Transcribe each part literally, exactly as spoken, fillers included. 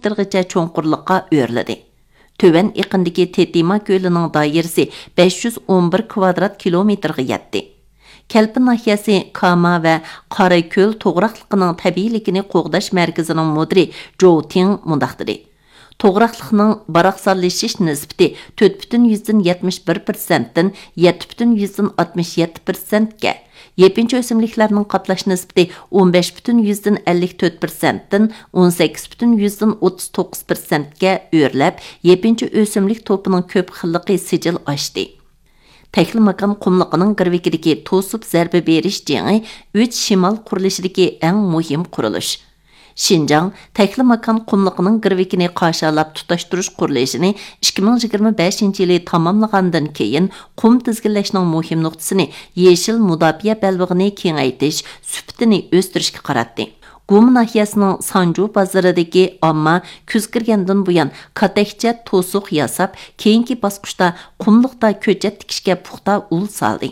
مېتىرغىچە چوڭقۇرلۇققا ئۆرلىدى. تۆۋەن ئېقىندىكى تېتىما كۆلىنىڭ دائىرىسى بەش يۈز ئون بىر كىۋادرات كىلومېتىرغا يەتتى. كەلپىن ناھىيەسى كاما ۋە قاراكۆل توغراقلىقىنىڭ تەبىئىيلىكىنى قوغداش مەركىزىنىڭ مۇدىرى جوۋ تىڭ مۇنداق دېدى: توغراقلىقنىڭ باراقسانلىشىش نىسبىتى تۆت پۈتۈن يۈزدىن يەتمىش بىر پىرسەنتتىن يەتتە پۈتۈن يۈزدىن ئاتمىش يەتتە پىرسەنتكە، يېپىنچا ئۆسۈملۈكلەرنىڭ قاپلاش نىسبىتى ئون بەش پۈتۈن يۈزدىن ئەللىك تۆت پىرسەنتتىن ئون سەككىز پۈتۈن يۈزدىن ئوتتۇز توققۇز پىرسەنتكە ئۆرلەپ، يېپىنچا ئۆسۈملۈك توپىنىڭ كۆپ خىللىقى سىجىل ئاشتى. تەكلىماكان قۇملۇقىنىڭ گىرۋىكىدىكى توسۇپ زەربە بېرىش جېڭى ئۈچ شىمال قۇرۇلۇشىدىكى ئەڭ مۇھىم قۇرۇلۇش. شىنجاڭ تەكلىماكان قۇملۇقىنىڭ گىرۋىكىنى قاشالاپ تۇتاشتۇرۇش قۇرۇلۇشىنى ئىككى مىڭ يىگىرمە بەشىنچى يىلى تاماملىغاندىن كېيىن، قۇم تىزگىنلەشنىڭ مۇھىم نۇقتىسىنى يېشىل مۇداپىئە بەلبېغىنى كېڭەيتىش، سۈپىتىنى ئۆستۈرۈشكە قاراتتى. گۇما ناھىيەسىنىڭ سانجۇ بازىرىدىكى ئامما كۈز كىرگەندىن بۇيان كاتەكچە توسۇق ياساپ، كېيىنكى باسقۇچتا قۇملۇقتا كۆچەت تىكىشكە پۇختا ئۇل سالدى.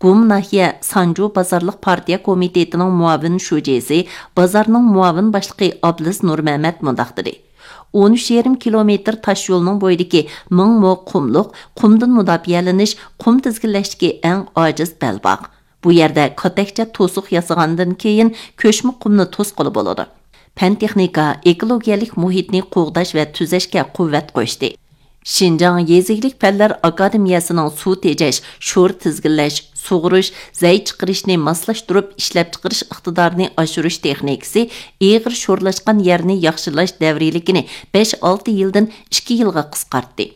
گۇما ناھىيە سانجۇ بازارلىق پارتىيە كومىتېتىنىڭ مۇئاۋىن شۇجىسى، بازارنىڭ مۇئاۋىن باشلىقى ئابلىز نۇرمەمەت مۇنداق دېدى: ئون ئۈچ يېرىم كىلومېتىر تاش يولنىڭ بويىدىكى مىڭ مو قۇملۇق، قۇمدىن مۇداپىئەلىنىش، قۇم تىزگىنلەشتىكى ئەڭ ئاجىز بەلباغ. بۇ يەردە كاتەكچە توسۇق ياسىغاندىن كېيىن، كۆچمە قۇمنى توسقىلى بولىدۇ. پەن تېخنىكا ئېكولوگىيەلىك مۇھىتنى قوغداش ۋە تۈزەشكە قۇۋۋەت قوشتى. شىنجاڭ يېزا ئىگىلىك پەنلەر ئاكادېمىيەسىنىڭ سۇ تېجەش، شور تىزگىنلەش، سۇغۇرۇش، زەي چىقىرىشنى ماسلاشتۇرۇپ ئىشلەپچىقىرىش ئىقتىدارىنى ئاشۇرۇش تېخنىكىسى ئېغىر شورلاشقان يەرنى ياخشىلاش دەۋرىيلىكىنى بەش ئالتە يىلدىن ئىككى يىلغا قىسقارتتى.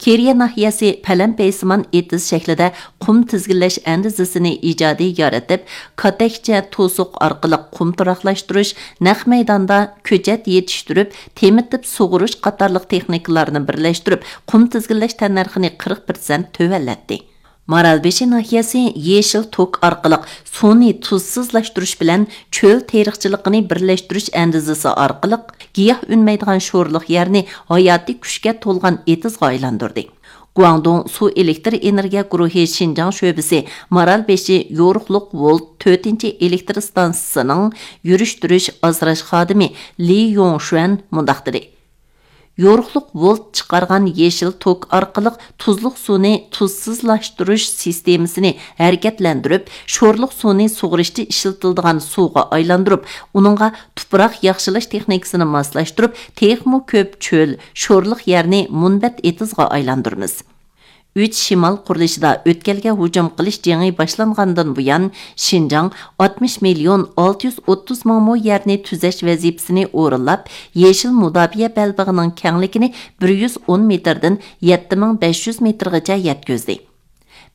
كېرىيە ناھىيەسى پەلەمپەيسىمان ئېتىز شەكلىدە قۇم تىزگىنلەش ئەندىزىسىنى ئىجادىي يارىتىپ، كاتەكچە توسۇق ئارقىلىق قۇم تۇراقلاشتۇرۇش، نەق مەيداندا كۆچەت يېتىشتۈرۈپ، تېمىتىپ سۇغۇرۇش قاتارلىق تېخنىكىلارنى بىرلەشتۈرۈپ، قۇم تىزگىنلەش تەننەرخىنى قىرىق پىرسەنت تۆۋەنلەتتى. مارالبېشى ناھىيەسى يېشىل توك ئارقىلىق سۇنى تۇزسىزلاشتۇرۇش بىلەن چۆل تېرىقچىلىقىنى بىرلەشتۈرۈش ئەندىزىسى ئارقىلىق گىياھ ئۈنمەيدىغان شورلۇق يەرنى ھاياتىي كۈچكە تولغان ئېتىزغا ئايلاندۇردى. گۇاڭدۇڭ سۇ ئېلېكتر ئېنېرگىيە گۇرۇھى شىنجاڭ شۆبىسى مارالبېشى يورۇقلۇق ۋولت تۆتىنچى ئېلېكتر ئىستانسىسىنىڭ يۈرۈشتۈرۈش ئاسراش خادىمى لى يوڭشۈەن مۇنداق دېدى: يورۇقلۇق ۋولت چىقارغان يېشىل توك ئارقىلىق تۇزلۇق سۇنى تۇزسىزلاشتۇرۇش سىستېمىسىنى ھەرىكەتلەندۈرۈپ، شورلۇق سۇنى سۇغىرىشتا ئىشلىتىلىدىغان سۇغا ئايلاندۇرۇپ، ئۇنىڭغا تۇپراق ياخشىلاش تېخنىكىسىنى ماسلاشتۇرۇپ، تېخىمۇ كۆپ چۆل، شورلۇق يەرنى مۇنبەت ئېتىزغا ئايلاندۇرىمىز. ئۈچ شىمال قۇرۇلۇشىدا ئۆتكەلگە ھۇجۇم قىلىش جېڭى باشلانغاندىن بۇيان، شىنجاڭ ئاتمىش مىليون ئالتە يۈز ئوتتۇز مىڭ مو يەرنى تۈزەش ۋەزىپىسىنى ئورۇنلاپ، يېشىل مۇداپىئە بەلبېغىنىڭ كەڭلىكىنى بىر يۈز ئون مېتىردىن يەتتە مىڭ بەش يۈز مېتىرغىچە يەتكۈزدى.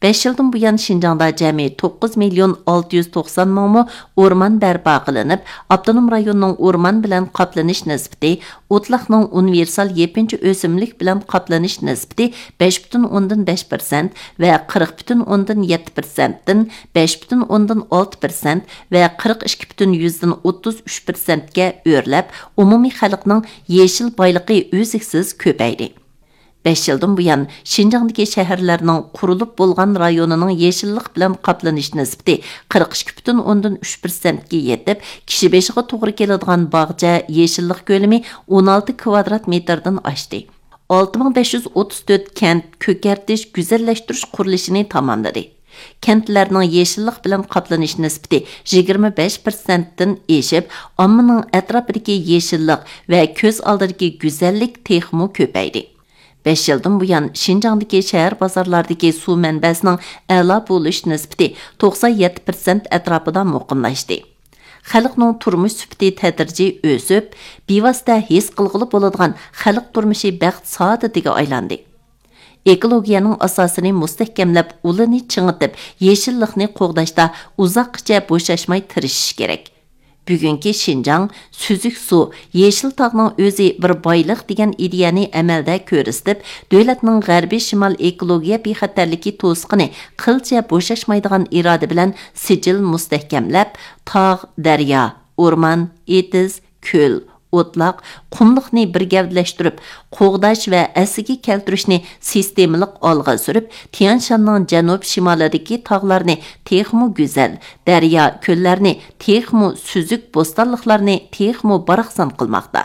بەش يىلدىن بۇيان، شىنجاڭدا جەمئىي توققۇز مىليون ئالتە يۈز توقسان مىڭ مو ئورمان بەرپا قىلىنىپ، ئاپتونوم رايوننىڭ ئورمان بىلەن قاپلىنىش نىسبىتى، ئوتلاقنىڭ ئۇنىۋېرسال يېپىنچا ئۆسۈملۈك بىلەن قاپلىنىش نىسبىتى بەش پۈتۈن ئوندىن بەش پىرسەنت ۋە قىرىق پۈتۈن ئوندىن يەتتە پىرسەنتتىن بەش پۈتۈن ئوندىن ئالتە پىرسەنت ۋە قىرىق ئىككى پۈتۈن يۈزدىن ئوتتۇز ئۈچ پىرسەنتكە ئۆرلەپ، ئومۇمىي خەلقنىڭ يېشىل بايلىقى ئۈزلۈكسىز كۆپەيدى. بەش يىلدىن بۇيان، شىنجاڭدىكى شەھەرلەرنىڭ قۇرۇلۇپ بولغان رايونىنىڭ يېشىللىق بىلەن قاپلىنىش نىسبىتى قىرىق ئىككى پۈتۈن ئوندىن ئۈچ پىرسەنتكە يېتىپ، كىشى بېشىغا توغرا كېلىدىغان باغچە يېشىللىق كۆلىمى ئون ئالتە كىۋادرات مېتىردىن ئاشتى. ئالتە مىڭ بەش يۈز ئوتتۇز تۆت كەنت كۆكەرتىش، گۈزەللەشتۈرۈش قۇرۇلۇشىنى تاماملىدى. كەنتلەرنىڭ يېشىللىق بىلەن قاپلىنىش نىسبىتى يىگىرمە بەش پىرسەنتتىن ئېشىپ، ئاممىنىڭ ئەتراپىدىكى يېشىللىق ۋە كۆز ئالدىدىكى گۈزەللىك تېخىمۇ كۆپەيدى. بەش يىلدىن بۇيان، شىنجاڭدىكى شەھەر بازارلاردىكى سۇ مەنبەسىنىڭ ئەلا بولۇش نىسبىتى توقسان يەتتە پىرسەنت ئەتراپىدا مۇقىملاشتى. خەلقنىڭ تۇرمۇش سۈپىتى تەدرىجىي ئۆسۈپ، بىۋاسىتە ھېس قىلغىلى بولىدىغان خەلق تۇرمۇشى بەخت سائادىتىگە ئايلاندى. ئېكولوگىيەنىڭ ئاساسىنى مۇستەھكەملەپ، ئۇلىنى چىڭىتىپ، يېشىللىقنى قوغداشتا ئۇزاققىچە بوشاشماي تىرىشىش كېرەك. بۈگۈنكى شىنجاڭ سۈزۈك سۇ، يېشىل تاغنىڭ ئۆزى بىر بايلىق دېگەن ئىدىيەنى ئەمەلدە كۆرسىتىپ، دۆلەتنىڭ غەربىي شىمال ئېكولوگىيە بىخەتەرلىكى توسۇقىنى قىلچە بوشاشمايدىغان ئىرادە بىلەن سىجىل مۇستەھكەملەپ، تاغ، دەريا، ئورمان، ئېتىز، كۆل، ئوتلاق، قۇملۇقنى بىر گەۋدىلەشتۈرۈپ، قوغداش ۋە ئەسلىگە كەلتۈرۈشنى سىستېمىلىق ئالغا سۈرۈپ، تيەنشاننىڭ جەنۇب شىمالىدىكى تاغلارنى تېخىمۇ گۈزەل، دەريا، كۆللەرنى تېخىمۇ سۈزۈك، بوستانلىقلارنى تېخىمۇ باراقسان قىلماقتا.